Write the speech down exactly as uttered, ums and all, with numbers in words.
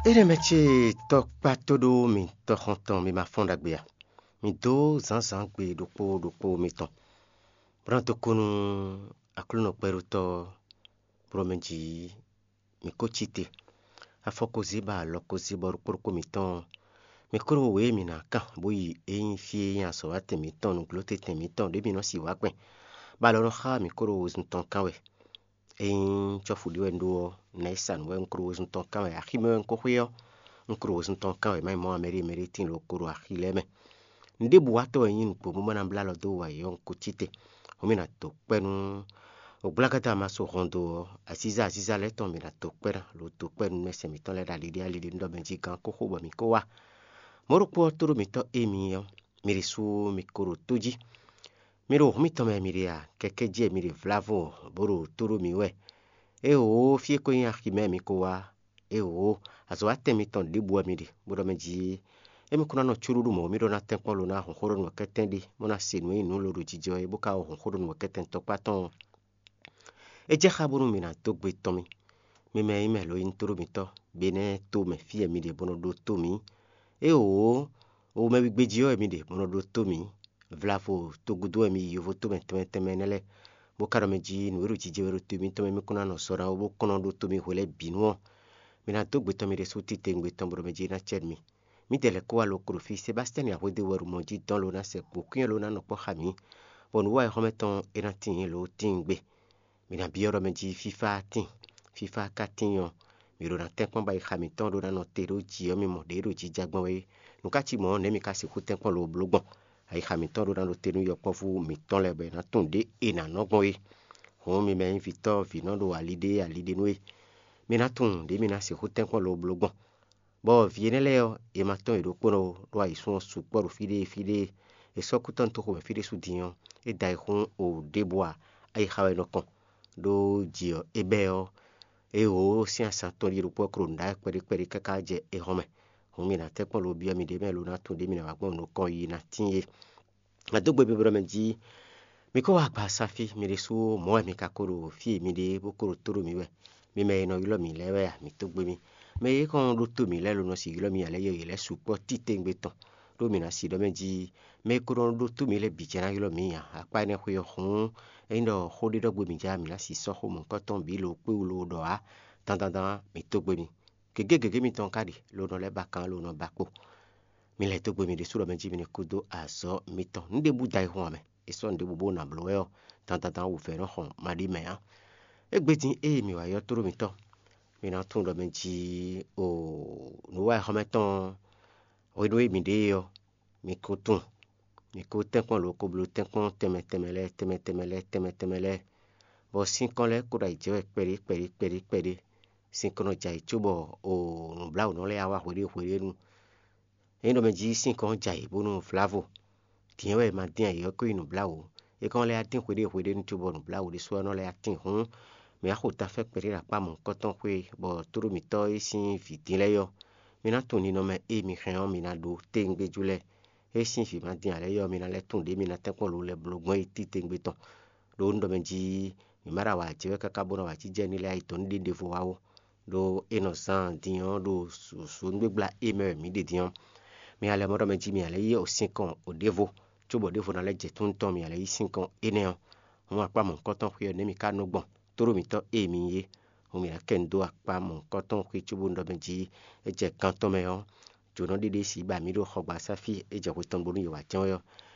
Énɛ́ mɛ ce tɔkpá tó ɖó mi tɔxɔntɔn mi ma fɔ́n ɖagbe a? Mi dó zǎnzǎngbe ɖokpó ɖokpó mitɔn, bó ná dó kú nú Aklúnɔ kpɛɖótɔ́, bó ɖɔ mɛ jí mi kó cí te. Afɔ ko zé bɔ alɔ ko zé bɔ ɖokpó ɖokpó mitɔn, mi kó ɖo wě e mǐ ná kan bó yi é nyí fí e nyí azɔ̌watɛn mǐtɔn, nǔglótetɛn mǐtɔn ɖě mǐ nɔ si wǎ gbɛn, bɔ alɔ nɔ xá mǐ kó ɖo wezun tɔn kán wɛ. Ényí cɔ́fu ɖé wɛ un ɖó ɔ́, nɛ̌ sa nǔ wɛ un klo wezun tɔn kán wɛ, axi mɛ wɛ un ko xwé ɔ́, un klo wezun tɔn kán wɛ, má nyí mɔ̌ ǎ, mɛɖée mɛɖée tíin lǒ ko ɖo axi lɛ́ɛ mɛ. Un ɖěbǔwatɔ́ wɛ nyí nǔgbó, bó ma ná blá alɔ dó wǎ yɔ́ un ko cí te. Hǔn mì nǎ dó kpɛ́ nú ogblágátá ma so hɔn dó ɔ́, azíza azíza lɛ́ɛ tɔn mì nǎ dó kpɛ́ ná, lǒ dó kpɛ́ nú mɛsɛn mǐtɔn lɛ́ɛ ɖo ali ɖé ali ɖé nú ɖɔ mɛ jí gǎn kó xo bɔ mǐ kó wá. Mɔ̌ ɖokpó ɔ́, tóɖó mǐtɔn émi ɔ́, mi ɖésú mi ko ɖo tó jí. Mi ɖo hǔn mitɔn mɛ mi ɖe a? Kɛkɛ́ jí wɛ mi ɖe vlávo bó ɖo tó ɖó mǐ wɛ. Éeǒ, fí e ko nyí axi mɛ mi ko wá. Éeǒ, azɔ̌watɛn mitɔn ɖěbǔ wɛ mi ɖe, bó ɖɔ mɛ jí émi kún ná nɔ có ɖuɖu mɔ̌, mi ɖó ná tɛ́nkpɔ́n lo ná hɔn xó ɖɔ nǔ wɛ kɛ́tɛ́n ɖe, bó ná se nǔ e nyí nǔ lodǒjijɛ ɔ́ é, bó ka wá hɔn xó ɖɔ nǔ wɛ kɛ́tɛ́n tɔkpá tɔn ɔ́. É jɛ xá bónú mi ná dó gbe tɔn mì. Mi mɛ e nyí mɛ lo nyí tóɖó mitɔ́, Benɛ́ɛ to mɛ fí wɛ mi ɖe bó nɔ ɖótó mǐ. Éeǒ, o mɛ wígbéjí ɔ́ wɛ mi ɖe bó nɔ ɖótó mǐ. Vlavo togúdo wɛ mi yi yovo tómɛ tɛnmɛ tɛnmɛ énɛ́ lɛ́ɛ, bó ka ɖɔ mɛ jí nǔ e ɖo jijɛ wɛ ɖo to mitɔn mɛ mi kún ná nɔ sɔ ná ó, bó kɔn nɔ ɖótó mi hwe lɛ́ɛ bǐ nu ɔ́, mi ná dó gbe tɔn mi ɖésú titewungbe tɔn bó ɖɔ mɛ jí é ná cɛ mi. Mǐdɛɛ lɛ́ɛ kó wá lo klo fí, Sebastiyani Ahwedéwɛ́ɖumɔ jí dɔn lo ná sɛ kpǒkwín ɔ́ lo ná nɔ kpɔ́ xa mǐ, bɔ nǔ wa e xɔ́mɛ tɔn é ná tíin lǒ tíin gbe. Mi ná byɔ́ ɖɔ mɛ jí fífá tíin. Fífá ka tíin ɔ́, mǐ ɖo ná tɛ́nkpɔ́n bɔ ayixa mǐtɔn ɖó ná nɔ te ɖó jǐ ɔ́ mi mɔ ɖě ɖo jija gbɔn wɛ é. Nǔ ka cí mɔ̌ ɔ́, nɛ̌ mi ka sixú tɛ́nkpɔ́n lo bló gbɔn? Ayixa mǐtɔn ɖó ná ɖo te nú yɔkpɔ́vú mǐtɔn lɛ́ɛ bɔ è nǎ tunwun ɖě è nǎ nɔ gbɔn é. Hǔn mi mɛ nyí vǐtɔ́ vǐnɔ ɖo ali ɖé ali ɖé nú é, mi ná tunwun ɖě mi ná sixú tɛ́nkpɔ́n lo bló gbɔn. Bɔ vǐ énɛ́ lɛ́ɛ ɔ́, è ma tɔ́n yě ɖokpónɔ ó, ɖó ayǐsún ɔ́ sukpɔ́ ɖo fí ɖé fí ɖé. È sɔ́ kú tɔn dó xomɛ fí ɖésú din ɔ́, é da ayǐ xún o ɖěbǔ ǎ. Ayixa wɛ è nɔ kɔn, ɖó jǐ ɔ́ é bɛ́ ɔ́, é hǒ sín azǎn tɔn ɖíe ɖokpó ɔ́ klo nǔɖaxi kpɛɖé kpɛɖé káká jɛ é hɔn mɛ. Hǔn mi ná tɛ́nkpɔ́n lo byɔ́ miɖée mɛ lo ná tunwun ɖě mi ná wá gbɔn nukɔn yi ná tíin é. Nǎ dó gbe biblɔ mɛ jí mi ko wá agbaza fí, mi ɖésú mɔ̌ wɛ mi ka ko ɖo fí e mi ɖe é, bó ko ɖo tó ɖo mǐ wɛ. Mi mɛ e nɔ ylɔ́ mǐ lɛ́ɛ wɛ a, mǐ tó gbe mì. Mɛ e kɔn nɔ ɖótó mǐ lɛ́ɛ lo nɔ si ylɔ́ mì ǎ lɛ́ɛ, yɔyǐ lɛ́ɛ sukpɔ́ titewungbe tɔn, ɖó mǐ ná si ɖɔ mɛ jí mɛ e ko nɔ ɖótó mǐ lɛ́ɛ bǐ jɛ ná ylɔ́ mǐ ǎ. Akpá énɛ́ xwe ɔ́ hǔn, ényí ɖɔ xó ɖé ɖɔ gbe mǐ jɛ mǐ ná si sɔ́ xó mɔ̌hunkɔtɔn bǐ lo kpé wú lo ɖɔ ǎ. Dandandan, mǐ tó gbe mì. Gěgé gěgé mitɔn ka ɖe lo nɔ lɛ́ ba kan lo nɔ ba kpo. Mi lɛ́ dó gbe mi ɖésú ɖɔ mɛ jí mi ní kú dó azɔ̌ mitɔn. Nǔ ɖěbǔ da ayihún ǎ mɛ, è sɔ́ nǔ ɖěbǔ bó ná bló wɛ ɔ́, dandandan wǔvɛ́ nɔ xɔn maɖí mɛ ǎ. Égbé din ée mǐ wá ylɔ́ tóɖó mitɔn, mi ná tunwun ɖɔ mɛ jí o nǔ wa xɔmɛ tɔn hwenu e mǐ ɖe é ɔ́, mi ko tunwun. Mi ko tɛ́nkpɔ́n lǒ ko bló tɛ́nkpɔ́n tɛnmɛ tɛnmɛ lɛ́ɛ tɛnmɛ tɛnmɛ lɛ́ɛ tɛnmɛ tɛnmɛ lɛ́ɛ, bɔ sínkɔ́n lɛ́ɛ ko ɖo ayǐ jɛ wɛ kpɛɖé kpɛɖé kpɛɖé kpɛɖé. Sínkɔ́n nɔ jɛ ayǐ cóbɔ o nǔbláwǔnɔ lɛ́ɛ wá hweɖée hweɖée nu. Ényí ɖɔ mɛ jí sínkɔ́n jɛ ayǐ bónú vlavo, dǐn wɛ è ma dín ayǐ ɔ́ ko nyí nǔbláwǔ. É kɔn lɛ́ wá dín hweɖée hweɖée nu cóbɔ nǔbláwǔ ɖésú ɔ́ nɔ lɛ́ wá tín hǔn, mǐ wá xo tafɛ́ kpɛɖé ɖo akpá mɔ̌hunkɔtɔn xwé, bɔ tóɖómítɔ́ e sín vǐ dín lɛ́ɛ é ɔ́, mi ná tunwun ninɔmɛ e mi hɛn ɔ́, mi ná ɖó téŋgbéjú lɛ́ɛ. É sín vǐ ma dín ǎ lɛ́ɛ é ɔ́, mi ná lɛ́ tunwun ɖě mi ná tɛ́nkpɔ́n lo lɛ́ bló gbɔn é títewungbe tɔn. Ɖó un ɖɔ mɛ jí mǐ ma ɖo awǎ jɛ wɛ káká bó nɔ awǎjijɛ ní lɛ́ɛ ayǐ dɔn ní ɖe ɖěvo wá ó. Ɖó é nɔ zán din ɔ́ ɖo susu gbígbla e mɛ wɛ mǐ ɖe din ɔ́, mi ná lɛ́ mɔ ɖɔ mɛ jí mi ná lɛ́ yí osínkɔn ɖěvo, cóbɔ ɖěvo ná lɛ́ jɛ tún tɔn mi ná lɛ́ yí sínkɔn énɛ́ ɔ́. Hǔn akpá mɔ̌hunkɔtɔn xwé ɔ́ nɛ́ mi ka nɔ gbɔn, tóɖó mǐtɔn e mi nyí é. Hǔn mǐ ná kɛ nu dó akpá mɔ̌hunkɔtɔn xwé cóbó nɔ ɖɔ mɛ jí é jɛ gan tɔn mɛ ɔ́, jǒnɔ ɖé ɖé sixú ba mǐ ɖo xɔgbasá fí e jɛ hwe tɔn bónú yě wá jɛ́n wɛ ɔ́.